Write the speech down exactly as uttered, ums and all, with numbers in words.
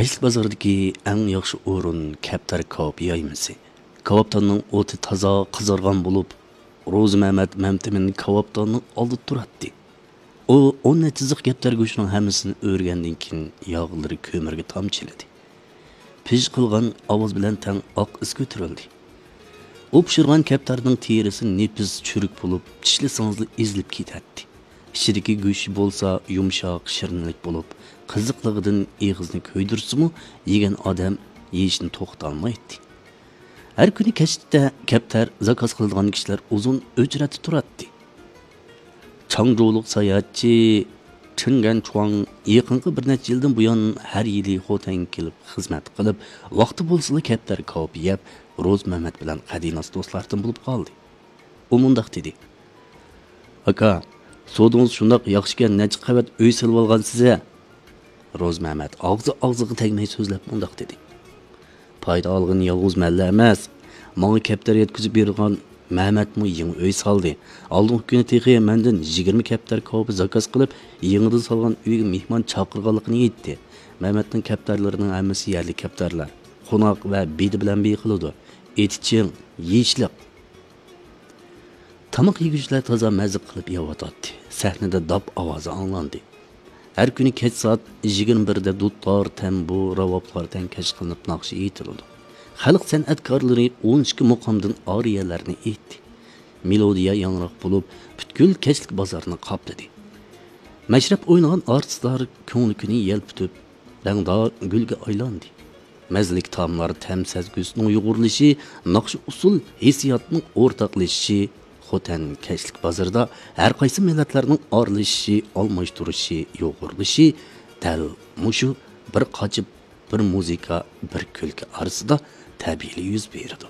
كەچلىك بازاردىكى ئەڭ ياخشى ئورۇن كەپتەر كاۋاپ يايمىسى. كاۋاپتاننىڭ ئوتى تازا قىزارغان بولۇپ، روزى مەمەت مەمتىمىن كاۋاپتاننىڭ ئالدىدا تۇراتتى. ئۇ ئون نەچچە زىق كەپتەر گۆشىنىڭ ھەممىسىنى ئۆرگەندىن كېيىن، ياغلىرى كۆمۈرگە تامچىلىدى. پىژ قىلغان ئاۋاز بىلەن تەڭ ئاق ئىس كۆتۈرۈلدى. ئۇ پىشۇرغان كەپتەرنىڭ تېرىسى نېپىز چۈرۈك بولۇپ، چىشلىسىڭىزلا ئېزىلىپ كېتەتتى. ئىچىدىكى گۆشى بولسا يۇمشاق، شىرنىلىك بولۇپ، قىزىقلىقىدىن ئېغىزنى كۆيدۈرسىمۇ، يېگەن ئادەم يېيىشنى توختىتالمايتتى. ھەر كۈنى كەچتە كەپتەر زاكاز قىلىدىغان كىشىلەر ئۇزۇن ئۆچرەتتە تۇراتتى. چاڭجۇلۇق ساياھەتچى چېڭ گەنچۇاڭ يېقىنقى بىر نەچچە يىلدىن بۇيان ھەر يىلى خوتەنگە كېلىپ خىزمەت قىلىپ، ۋاقتى بولسىلا كەپتەر كاۋاپ يەپ، روزى مەمەت بىلەن قەدىناس دوستلاردىن بولۇپ قالدى. ئۇ مۇنداق دېدى: «ئاكا، سودىڭىز شۇنداق ياخشىكەن، نەچچە قەۋەت ئۆي سېلىۋالغانسىز ھە؟» روزى مەمەت ئاغزى ئاغزىغا تەگمەي سۆزلەپ مۇنداق دېدى: «پايدا ئالغىنى يالغۇز مەنلا ئەمەس، ماڭا كەپتەر يەتكۈزۈپ بېرىدىغان مەمەتمۇ يېڭى ئۆي سالدى. ئالدىنقى كۈنى تېخى مەندىن يىگىرمە كەپتەر كاۋىپى زاكاز قىلىپ، يېڭىدىن سالغان ئۆيگە مېھمان چاقىرغانلىقىنى ئېيتتى. مەمەتنىڭ كەپتەرلىرىنىڭ ھەممىسى يەرلىك كەپتەرلەر. قوناق ۋە بېدە بىلەن بېيىقىلىدۇ. ئېتى چىڭ، يېيىشلىق.» تاماق يېگۈچىلەر تازا مەززە قىلىپ يەۋاتاتتى. سەھنىدە داپ ئاۋازى ئاڭلاندى. ھەر كۈنى كەچ سائەت يىگىرمە بىردە دۇتار، تەمبۇر، راۋابلار تەڭكەش قىلىنىپ ناخشا ئېيتىلىدۇ. خەلق سەنئەتكارلىرى ئون ئىككى مۇقامدىن ئارىيەلەرنى ئېيتتى. مېلودىيە ياڭراق بولۇپ، پۈتكۈل كەچلىك بازارنى قاپلىدى. مەشرەپ ئوينىغان ئارتىسلار كۆڭلى كۈنى يەلپۈتۈپ، رەڭدار گۈلگە ئايلاندى. مەززىلىك تائاملار تەم سەزگۈسىنىڭ يۇغۇرۇلۇشى، ناخشا ئۇسسۇل ھېسسىياتنىڭ ئورتاقلىشىشى، خوتەن كەچلىك بازىرىدا ھەر قايسى مىللەتلەرنىڭ ئارىلىشىشى، ئالماشتۇرۇشى، يۇغۇرۇلۇشى دەل مۇشۇ بىر قاچا، بىر مۇزىكا، بىر كۈلكە ئارىسىدا تەبىئىيلا يۈز بېرىدۇ.